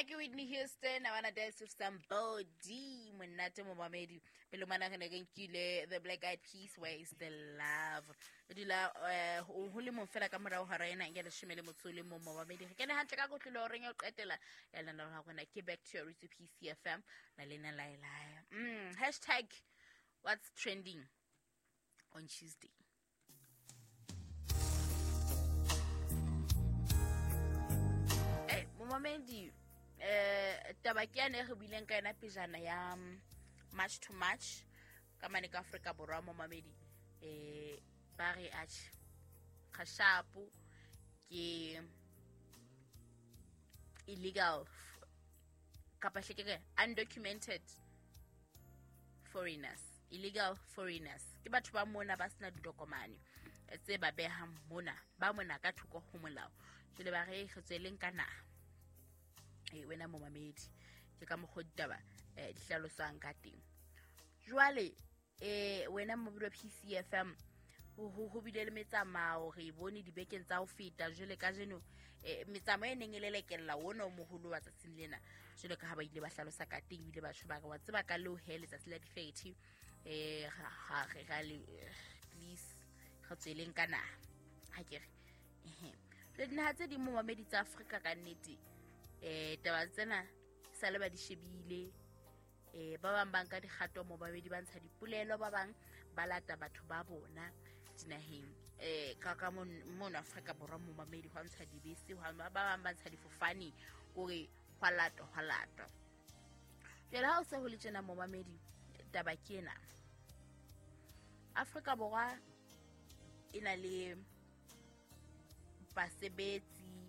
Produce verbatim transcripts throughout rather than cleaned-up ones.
Ke Whitney Houston, I wanna dance with somebody. Monate momamedi. Pele mana re ne re nkile The Black Eyed Peas, Where Is the Love. Re dula eh ho le mong fela ka morao hora ena ya leshome le motso le mong momamedi. Re kene hantle ka kotlolo horeng ya ho qetela ya lenaneo la rona ke Back to Your Roots P C F M na lena la la. Mm, hashtag what's trending on Tuesday. Eh momamedi, eh taba ke yane re buileng ka yona pejana ya March to March ka mane ka Afrika Borwa momamedi, eh ba re atjhe kgashapo ke illegal kapa hlekeke undocumented foreigners, illegal foreigners ke batho ba mona ba sena ditokomane tse ba behang mona, ba mona ka thoko ho molao, jwale ba re re tsweleng ka naha. E wena momamedi, ke ka mokgwa ditaba eh di hlaloswang ka teng. Jwale eh wena momamedi wa P C F M, ho ho bile le metsamao re bone dibekeng tsa ho feta. Jwale kajeno eh metsamao e neng e lelekella wona o moholo wa tsatsing lena, jwale ka ha ba ile ba hlalosa ka teng, ebile batho ba re wa tseba ka leo he letsatsi la di-thirty eh ha re ra le please re tsweleng ka naha. Ha ke re ehe le dinaha tse ding momamedi tsa Afrika ka nnete eh taba tsena sa le ba di shebile, eh ba bang ba nka dikgato momamedi, ba ntsha dipolelo, ba bang ba lata batho ba bona dinaheng eh ka ka mona Afrika Borwa momamedi, hwa ntsha dibese, ba bang ba ntsha difofane hore hwa latwa hwa latwa. Jwale ha o se ho le tjena momamedi, taba ke ena. Afrika Borwa e na le basebetsi,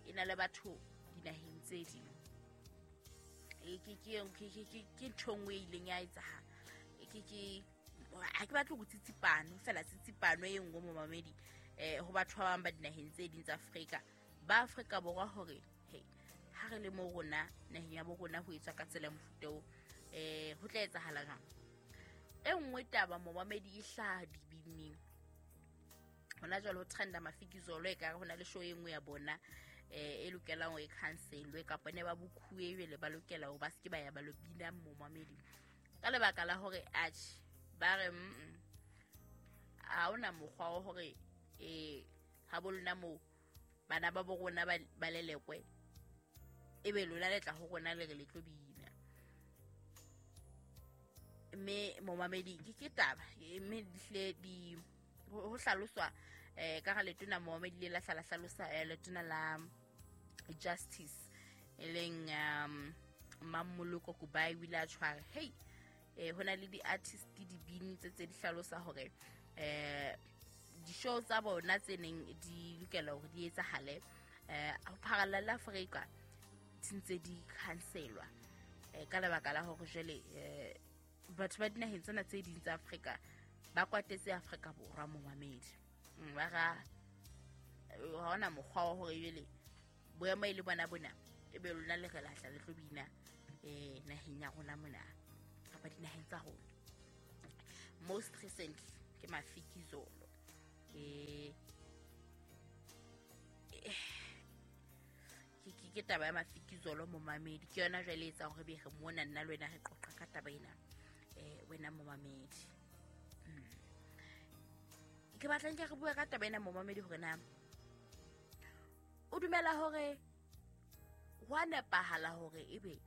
e na le batho dinaheng tse ding. E ke ke ke ke ke ntho nngwe e ileng ya etsahala. E ke ke ha ke batle ho tsitsipano fela, tsitsipano e nngwe momamedi eh ho batho ba bang ba dinaheng tse ding tsa Afrika, ba Afrika Borwa hore hey ha re le mo rona naheng ya bo rona ho etswa ka tsela mofuta o eh ho tla etsahala jwang. E nngwe taba momamedi e hlaha dibineng hona jwale ho trenda Mafikizolo, e ka re hona le show e nngwe ya bona eh e lokelang ho e cancelwe kapa ne ba bukhuwe jwale ba lokela hore ba seke ba ya ba lo bina momamedi ka lebaka la hore atjhe ba re mm ha ona mokgwa wa hore eh ha bo lona moo bana ba bo rona ba lelekwe ebe lona le tla ho rona le re le tlo bina. Mme momamedi ke ke taba mme dihle di ho hlaloswa eh ka ga letona momamedi le la hlala hlalosa letona la Justice e leng um Mmamoloko Kubayi o ile a tshwara hey eh hona le di-artist dibini tse tse di hlalosa hore eh di-show tsa bona tse neng di lokela hore di etsahale eh ho pharalla la Afrika di ntse di cancelwa eh ka lebaka la hore jwale eh batho ba dinaheng tsena tse ding tsa Afrika ba kwatetse Afrika Borwa momamedi. Ba ra ha ona mokgwa wa hore jwale boemo e le bona bona ebe lona le re lahla le tlo bina eh naheng ya rona mona kapa dinaheng tsa rona. Most recently ke Mafikizolo eh ke ke ke taba ya Mafikizolo momamedi, ke yona jwale e etsang hore be re mona nna le wena re qoqa ka taba ena eh wena momamedi. Ke batla nke re bue ka taba ena momamedi hore na o dumela hore ho nepahala hore ebe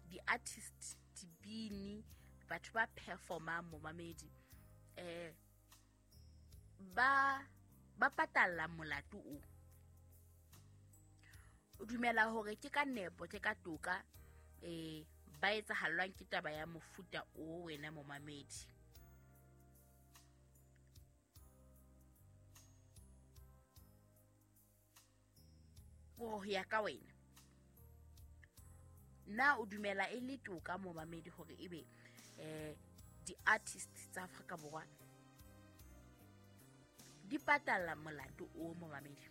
di-artist, dibini, batho ba performang momamedi eh ba ba patalla molato o. O dumela hore ke ka nepo, ke ka toka eh ba etsahallwang ke taba ya mofuta o wena momamedi. Ho ya ka wena na o dumela e le toka momamedi hore ebe eh di-artist tsa Afrika Borwa di patala molato o momamedi?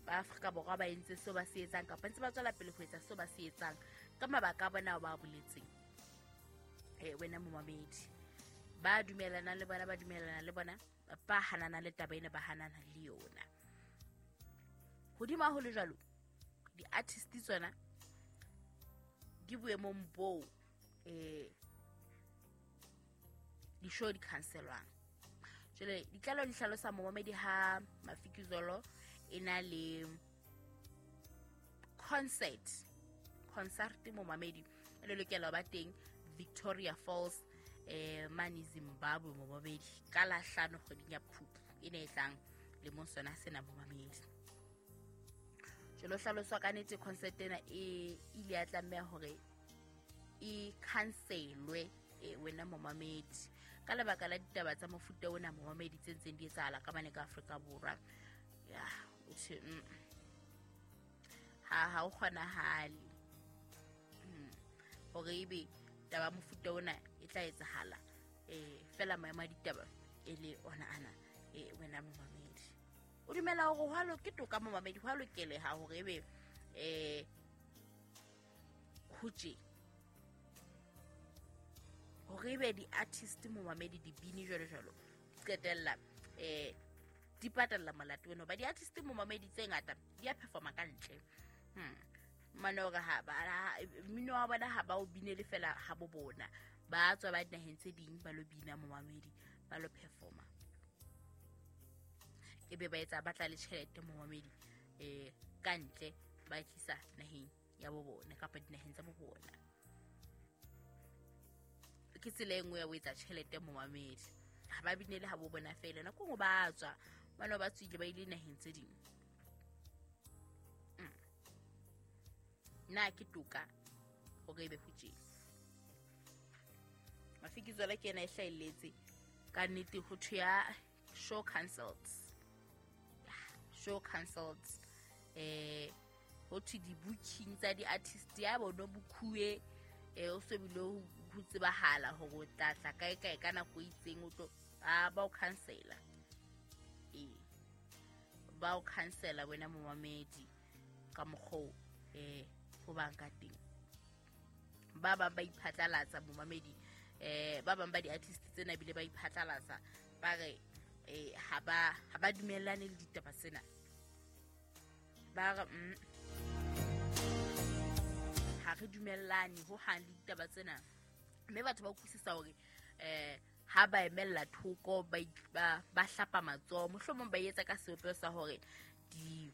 Ba Afrika Borwa ba entse seo ba se etsang kapa ntse ba tswela pele ho etsa seo ba se etsang ka mabaka a bona ba boletseng. Eh wena momamedi, ba dumelana le bona ba dumelana le bona, ba hanana le taba ena ba hanana le yona. Hodima ho le jwalo, di-artist tsona di boemong boo eh di-show di cancelwang. Jwale ditlaleho di hlalosa momamedi ha Mafikizolo e na le concert concert momamedi e le lokela ho ba teng Victoria Falls eh mane Zimbabwe momamedi ka la hlano kgweding ya Phupu e ne e tlang lemong sona sena momamedi. Jwale ho hlaloswa ka nnete concert ena e ile ya tlameha hore e cancelwe e wena momamedi ka lebaka la ditaba tsa mofuta ona momamedi tse ntseng di etsahala ka mane ka Afrika Borwa. Ya o thwe mm, ha ha o kgonahale mm, hore ebe taba mofuta ona e tla etsahala eh fela maemo a ditaba e le ona ana e wena momamedi. O dumela hore ho a ke toka momamedi, ho a lokeleha hore ebe eh ho tje hore ebe di-artist momamedi dibini jwalo jwalo di qetella eh di patalla molato ono ba di-artist momamedi tse ngata di a performa ka ntle. Hmm. Mane hore ha ba mmino wa bona ha ba o binele fela ha bo bona ba tswa ba dinaheng tse ding ba lo bina momamedi ba lo performa ebe ba etsa batla le tjhelete momamedi eh ka ntle ba tlisa naheng ya bo bona kapa dinaheng tsa bo bona. Ke tsela e nngwe ya ho etsa tjhelete momamedi ha ba binele ha bo bona fela nako nngwe ba tswa bana ba tswile ba ile naheng tse ding. Mm. Na ke toka hore ebe ho tje Mafikizolo ke ena e hlahelletse ka nnete ho thwe ya show cancelled. Show cancelled eh ho thwe di-booking tsa di-artist ya bona bukhuwe eh o se bile ho tsebahala hore o tla tla kae kae ka nako e itseng o tlo a ba o cancela eh ba o cancela wena momamedi ka mokgwa eh ho bang ka teng. Ba bang ba iphatlalatsa momamedi eh ba bang ba di-artist tsena bile ba iphatlalatsa ba re eh ha ba ha ba dumellane le ditaba tsena ba re mm, ha re dumellane ho hang le ditaba tsena mme batho ba utlwisisa hore eh ha ba emella thoko ba ba ba hlapa matsoho mohlomong ba etsa ka sebopeho sa hore di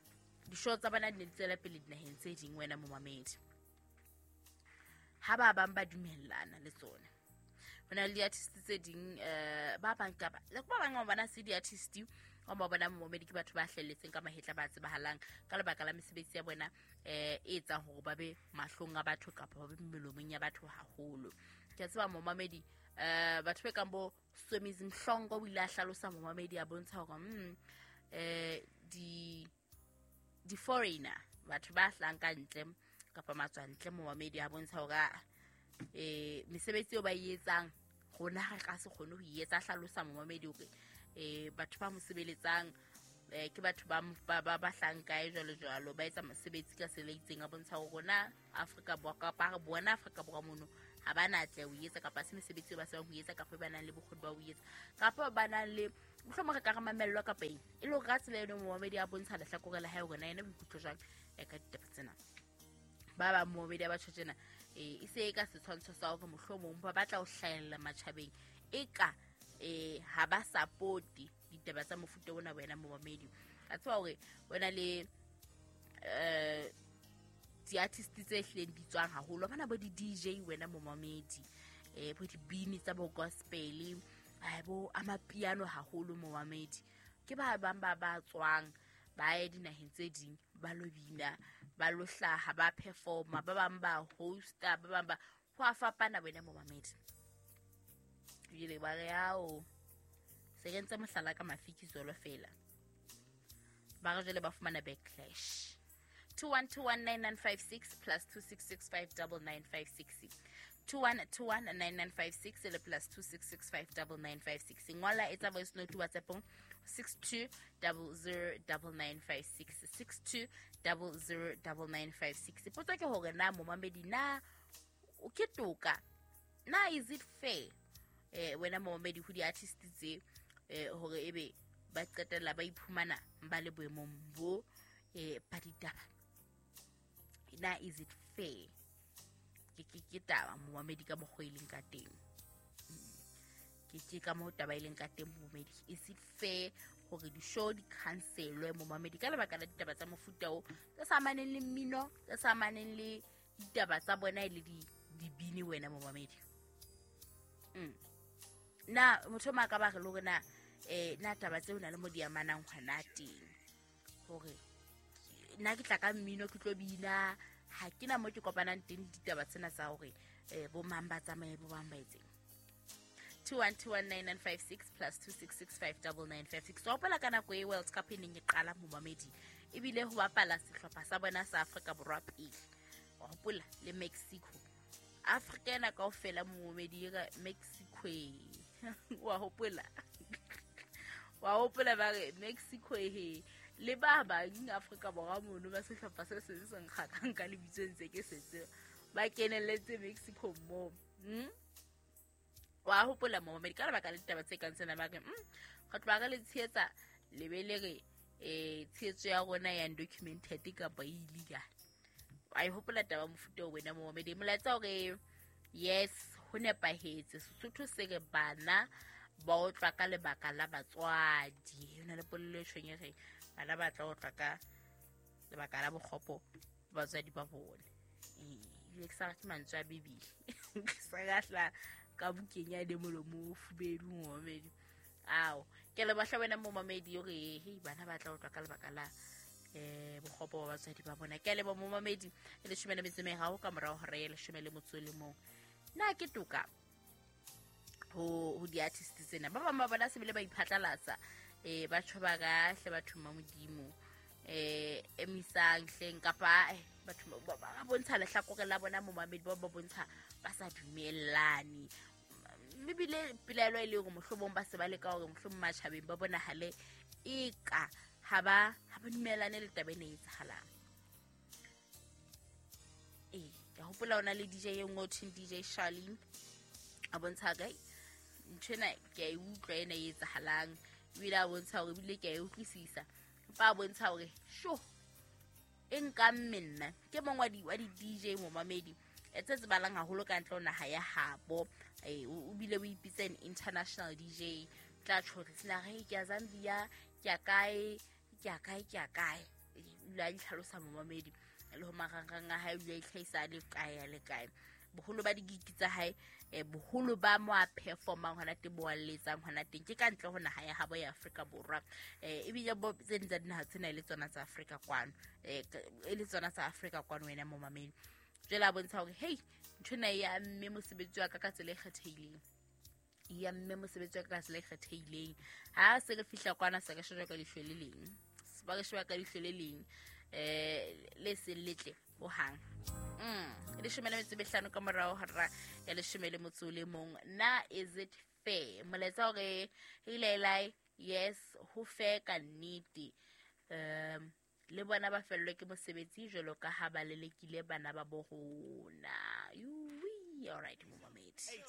di-show tsa bona di ne di tswela pele dinaheng tse ding wena momamedi. Ha ba bang ba dumellana le tsona ho na le di-artist tse ding eh ba bang kapa le ba bang ba bona se di-artist o ba bona momamedi ke batho ba hlelletseng ka mahetla ba tsebahalang ka lebaka la mesebetsi ya bona eh e etsang hore ba be mahlong a batho kapa ba be melomong ya batho haholo. Ke a tseba momamedi eh batho ba kang bo Somizi Mhlongo o ile a hlalosa momamedi a bontsha hore mm eh di di foreigner batho ba hlang ka ntle kapa matswantle momamedi a bontsha hore eh mesebetsi eo ba e etsang rona re ka se kgone ho e etsa. Hlalosa momamedi hore eh batho ba mo sebeletsang eh ke batho ba ba ba hlang kae jwalo jwalo ba etsa mosebetsi ka tsela e itseng a bontsha hore rona Afrika Borwa kapa re bona Afrika Borwa mono ha ba na tle ho etsa kapa se mesebetsi eo ba sebang ho etsa kapa ba nang le bokgoni ba ho etsa kapa ba nang le mohlomong re ka re mamellwa kapa eng e le hore ka tsela eno momamedi a bontsha lehlakore la hae hore na yena o ikutlwa jwang ka ditaba tsena. Ba bang momamedi a batho tjena eh e se e ka setshwantsho sa hore mohlomong ba batla ho hlahella matjhabeng e ka eh ha ba support ditaba tsa mofuta ona wena momamedi. A tseba hore wena le eh di-artist tse hlileng di tswang haholo bana bo di-D J wena momamedi eh bo dibini tsa bo gospel ai bo amapiano haholo momamedi ke ba bang ba ba tswang ba ye dinaheng tse ding ba lo bina ba lo hlaha ba performa ba bang ba hosta ba bang ba ho a fapana wena momamedi. Jwale ba re ao se ke ntse mohlala ka Mafikizolo fela ba re jwale ba fumana backlash. Two one two one nine nine five six plus two six six five double nine five six two one two one nine nine five six le plus two six six five double nine five six. Ngola etsa voice note WhatsApp six two double zero double nine five six six two double zero double nine five six. Potso ke hore na momamedi na o ke toka na is it fair eh wena momamedi ho di-artist tse eh hore ebe ba qetella ba iphumana ba le boemong bo eh ba ditaba. Na is it fair? Ke ke ke taba momamedi ka mokgwa e leng ka teng. Ke ke ka moo taba e leng ka teng momamedi. Is it fair hore di-show di cancelwe momamedi ka lebaka la ditaba tsa mofuta o tse sa amaneng le mmino, tse sa amaneng le ditaba tsa bona e le di dibini wena momamedi? Mm. Na motho o mang a ka ba re le hore na eh na taba tseo na le mo di amanang hona teng, hore nna ke tla ka mmino ke tlo bina, ha ke na mo ke kopanang teng le ditaba tsena tsa hore eh bo mang ba tsamaye bo bang ba etseng. Two one two one nine nine five six plus two six six five double nine five six. Wa hopola ka nako e World Cup e neng e qala momamedi, ebile ho bapala sehlopha sa bona sa Afrika Borwa pele. Wa hopola le Mexico. Afrika ena kaofela momamedi e ka Mexico e. Wa hopola. Wa hopola ba re Mexico e he. Le ba bang Afrika Borwa mono ba sehlopha se seng se nkgakang ka lebitso ntse ke setse ba kenelletse Mexico moo. Hmm? Wa hopola momamedi ka lebaka la ditaba tse kang tsena ba re, mm, re tloha re le tshehetsa le be le re, eh, tshehetso ya rona ya undocumented kapa e illegal. Wa e hopola taba mofuta o wena momamedi. Molaetsa hore yes, ho nepahetse. Sesotho se re bana ba otlwa ka lebaka la batswadi. Ho na le polelo e tjhong e reng bana ba tla otlwa ka lebaka la bokgopo ba batswadi ba bona. Eh, ebile ke sa rate mantswe a Bibele. Ke sa lahla ka bukeng ya le molomo o fubedu momamedi. Ao, ke le bahla wena momamedi hore hei bana ba tla otlwa ka lebaka la eh bokgopo ba batswadi ba bona. Ke a leboha momamedi, e leshome le metso e meraro ka morao hora ya leshome le motso o le mong. Na ke toka ho, ho di-artist tsena? Ba bang ba bona se bile ba iphatlalatsa, eh, ba tjho ba ka hle batho ba Modimo, eh, emisang hleng kapa, eh, batho ba, ba, ba bontsha lehlakore la bona momamedi, ba ba bontsha ba sa dumellane. Mme ebile pelaelo e le hore mohlomong ba se ba leka hore mohlomong matjhabeng ba bonahale eka ha ba, ha ba dumellane le taba ena e etsahalang. Ee, ke hopola ho na le D J e nngwe ho thweng D J Charlene, a bontsha kae nthwena ke a e utlwa ena e etsahalang, ebile a bontsha hore ebile ke a e utlwisisa, empa a bontsha hore sho e nkamme nna. Ke mong wa di, wa di-D J momamedi e tse tsebahalang haholo ka ntle ho naha ya habo. Eh, o, o bile o ipitsa an international D J. Tla tjho hore sena re ke ya Zambia, ke ya kae, ke ya kae, ke ya kae. Eh, o ile a itlhalosa momamedi le ho marangrang a hae, o ile a itlhahisa a le kae, a le kae. Boholo ba di-gig tsa hae, eh, boholo ba mo a performang hona teng, bo a letsang hona teng, ke ka ntle ho naha ya habo ya Afrika Borwa. Eh, ebile bo tse ding tsa dinaha tsena e le tsona tsa Afrika kwano. Eh, e le tsona tsa Afrika kwano wena momamedi. Jwale a bontsha hore, hey, nthwena e ya mme mosebetsi wa ka ka tsela e kgethehileng. E ya mme mosebetsi wa ka ka tsela e kgethehileng. Ha se re fihla kwana, se re shejwa ka leihlo le leng. Se ba re sheba ka leihlo le leng, eh, le seng letle hohang. Mm, leshome le metso e mehlano ka morao hora ya leshome le motso o le mong. Na is it fair? Molaetsa hore, hey, Lailai, yes, ho fair ka nnete. Um, le bona ba fellwe ke mosebetsi jwalo ka ha ba lelekile bana ba bo rona. Yui, all right, momamedi.